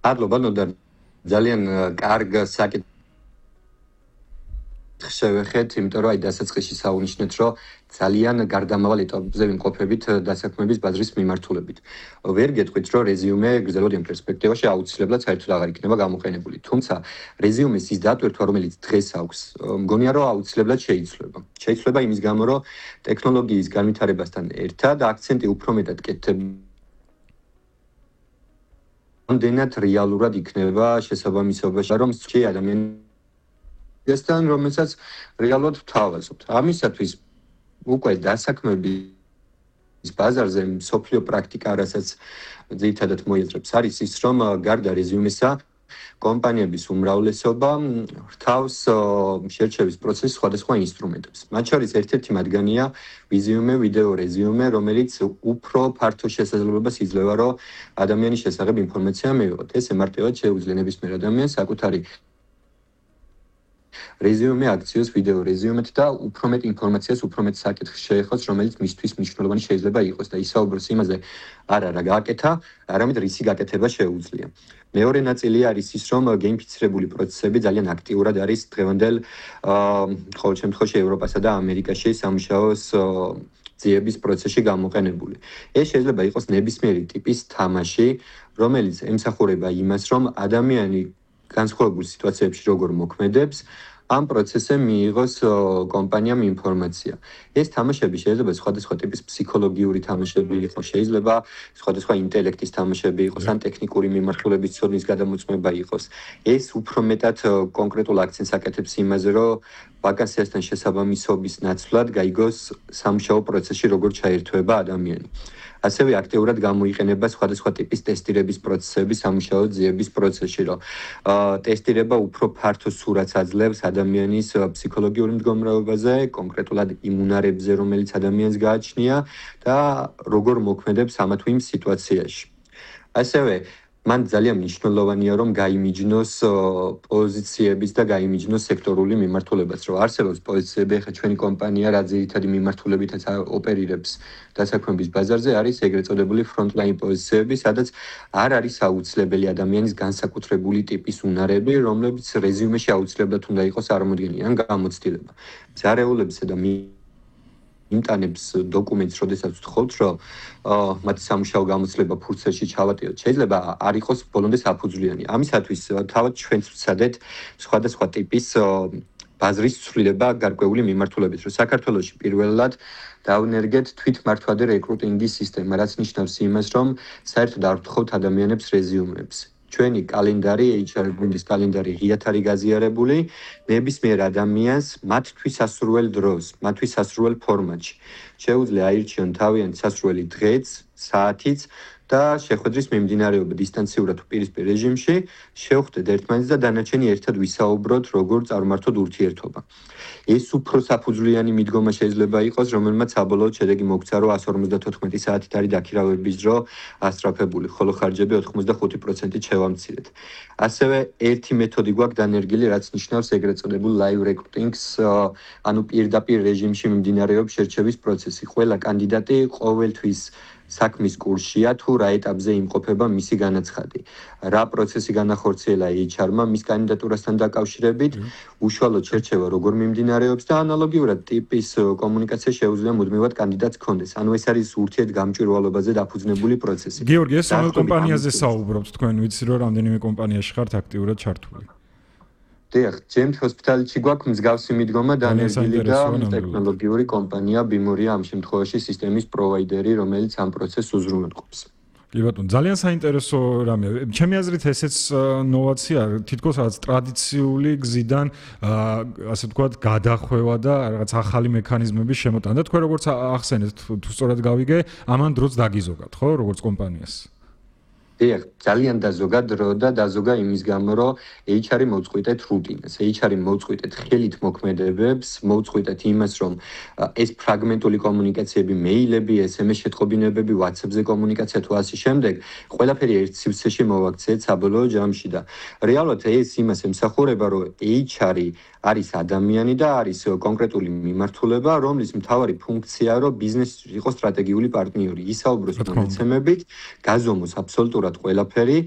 მადლობა ნოდარ ძალიან კარგ საკითხს შევეხეთ, იმიტომ რომ აი დასაწყისში საუნიშნეთ, რომ ძალიან გარდამავალ ეტაპზე ვიმყოფებით დასაქმების ბაზრის მიმართულებით. ვერ გეტყვით, რომ რეზიუმე გრძელვადიან პერსპექტივაში აუცილებლად საერთოდ აღარ იქნება გამოყენებული. თუმცა რეზიუმეს ის დატვირთვა, რომელიც დღეს აქვს, მგონია რომ აუცილებლად შეიცვლება. შეიცვლება იმის გამო, რომ ტექნოლოგიის განვითარებასთან ერთად აქცენტი უფრო მეტად კეთდება. ამდენად რეალურად იქნება შესაბამისობაში, რომ ადამიანი ესთან რომელსაც რეალურად ვთავაზობთ. ამისათვის უკვე დასაქმების ბაზარზე მსოფლიო პრაქტიკა, რასაც ძირითადად მოიაზრებს, არის ის, რომ გარდა რეზიუმესა, კომპანიების უმრავლესობა რთავს შერჩევის პროცესის სხვადასხვა ინსტრუმენტებს. მათ შორის ერთ-ერთი მათგანია ვიზიუმე, ვიდეო რეზიუმე, რომელიც უფრო ფართო შესაძლებლობას იძლევა, რომ ადამიანის შესახებ ინფორმაცია მივიღოთ. ეს ემარტივად შეუძლია ნებისმიერ ადამიანს საკუთარი რეზიუმე აქციოს ვიდეო რეზიუმეთ და უფრო მეტ ინფორმაციას, უფრო მეტ საკითხს შეეხოს, რომელიც მისთვის მნიშვნელოვანი შეიძლება იყოს და ისაუბროს იმაზე, არა რა გააკეთა, არამედ რისი გაკეთება შეუძლია. მეორე ნაწილი არის ის, რომ გეინფიცირებული პროცესები ძალიან აქტიურად არის დღევანდელ ყოველ შემთხვევაში ევროპასა და ამერიკაში სამუშაოს ძიების პროცესში გამოყენებული. ეს შეიძლება იყოს ნებისმიერი ტიპის თამაში, რომელიც ემსახურება იმას, რომ ადამიანი განსხვავებულ სიტუაციებში როგორ მოქმედებს, ამ პროცესზე მიიღოს კომპანიამ ინფორმაცია. ეს თამაშები შეიძლება სხვადასხვა ტიპის ფსიქოლოგიური თამაშები იყოს, შეიძლება სხვადასხვა ინტელექტის თამაშები იყოს, ან ტექნიკური მიმართულების ცოდნის გადამოწმება იყოს. ეს უფრო მეტად კონკრეტულ აქცენტს აკეთებს იმაზე, რომ ვაკანსიასთან შესაბამისობის ნაცვლად გაიგოს სამუშაო პროცესში როგორ ჩაერთვება ადამიანი. ასევე აქტიურად გამოიყენება სხვადასხვა ტიპის ტესტირების პროცესები სამუშაო ძიების პროცესში, რომ ტესტირება უფრო ფართო სურათს აძლევს ადამიანის ფსიქოლოგიური მდგომარეობაზე, კონკრეტულად იმუნარებზე, რომელიც ადამიანს გააჩნია და როგორ მოქმედებს ამა თუ იმ სიტუაციაში. ასევე მან ძალიან მნიშვნელოვანია, რომ გაიმიჯნოს პოზიციების და გაიმიჯნოს სექტორული მიმართულებაც, რომ არსებობს პოზიციები, ახლა ჩვენი კომპანია რა ძირითადი მიმართულებითაც ოპერირებს დასაქმების ბაზარზე, არის ეგრეთ წოდებული ფრონტლაინ პოზიციები, სადაც არ არის აუცილებელი ადამიანის განსაკუთრებული ტიპის უნარები, რომლებიც რეზიუმეში აუცილებლად უნდა იყოს წარმოდგენილი ან გამოცდილება. ზარეულებსა და იმტანებს დოკუმენტს, როდესაც ვთხოვთ, რომ მათი სამუშაო გამოცდილება ფურცელში ჩავატიოთ, შეიძლება არ იყოს ბოლომდე საფუძვლიანი. ამისათვის თავად ჩვენც ვცადეთ სხვადასხვა ტიპის ბაზრის ცვლილება გარკვეული მიმართულებით, რომ საქართველოში პირველად დავნერგეთ თვითმართვადე რეკრუტინგის სისტემა, რაც ნიშნავს იმას, რომ საერთოდ არ ვთხოვთ ადამიანებს რეზიუმებს. ჩვენი კალენდარი, HR გუნდის კალენდარი ღიად არის გაზიარებული, ნებისმიერ ადამიანს მათთვის სასურველ დროს, მათთვის სასურველ ფორმატში. შეუძლია აირჩიონ თავიანთი სასურველი დღეც, საათიც და შეხვედრის მიმდინარეობა დისტანციურად პირისპირ რეჟიმში, შევხვდეთ ერთმანეთს და დანარჩენი ერთად ვისაუბროთ, როგორ წარმართოთ ურთიერთობა. ეს უფრო საფუძვლიანი მიდგომა შეიძლება იყოს, რომელმაც საბოლოოდ შედეგი მოგცა, რომ 154 საათით არის დაქირავების დრო ასწრაფებული, ხოლო ხარჯები 85%-ით შევამცირეთ. ასევე ერთი მეთოდი გვაქვს დანერგილი, რაც ნიშნავს ეგრეთ წოდებულ live recruiting-ს, ანუ პირდაპირ რეჟიმში მიმდინარეობს შერჩევის პროცესი. ყველა კანდიდატი ყოველთვის საქმის კურსშია თუ რა ეტაპზე იმყოფება მისი განაცხადი. რა პროცესი განახორციელა HR-მა მის კანდიდატურასთან დაკავშირებით, უშუალოდ შერჩევა როგორ მიმდინარეობს და ანალოგიურად ტიპის კომუნიკაცია შეუძლია მუდმივად კანდიდატს ჰქონდეს. ანუ ეს არის ურთიერთგამჭვირვალობაზე დაფუძნებული პროცესი. გიორგი, ეს რომელ კომპანიაზე საუბრობთ თქვენ? ვიცი რომ რამდენიმე კომპანიაში ხართ აქტიურად ჩართული. დიახ, James Hospital-ში გვაქვს მსგავსი მიდგომა დანერგილი და ტექნოლოგიური კომპანია BIMORIA ამ შემთხვევაში სისტემის პროვაიდერი, რომელიც ამ პროცესს უზრუნველყოფს. კი ბატონო, ძალიან საინტერესო რამეა. ჩემი აზრით ესეც ნოვაცია, თითქოს რაღაც ტრადიციული გზიდან ასე ვთქვათ, გადახვევა და რაღაც ახალი მექანიზმების შემოტანა. და თქვენ როგორც ახსენეთ, თუ სწორად გავიგე, ამან დროც დაგიზოგათ, ხო, როგორც კომპანიას? დიახ, ძალიან დაზოგა დრო და დაზოგა იმის გამო, რომ HR-ი მოუწყვიტეთ რუტინას, HR-ი მოუწყვიტეთ ხელით მოქმედებებს, მოუწყვიტეთ იმას, რომ ეს ფრაგმენტული კომუნიკაციები, მეილები, SMS შეტყობინებები, WhatsApp-ზე კომუნიკაცია თუ ასე შემდეგ, ყველაფერი ერთ სივრცეში მოვაქციეთ საბოლოო ჯამში და რეალურად ეს იმას ემსახურება, რომ HR-ი არის ადამიანი და არის კონკრეტული მიმართულება, რომლის მთავარი ფუნქციაა, რომ ბიზნესი იყოს სტრატეგიული პარტნიორი, ისაუბროს მონაცემებით, გაზომოს აბსოლუტურად ყველაფერი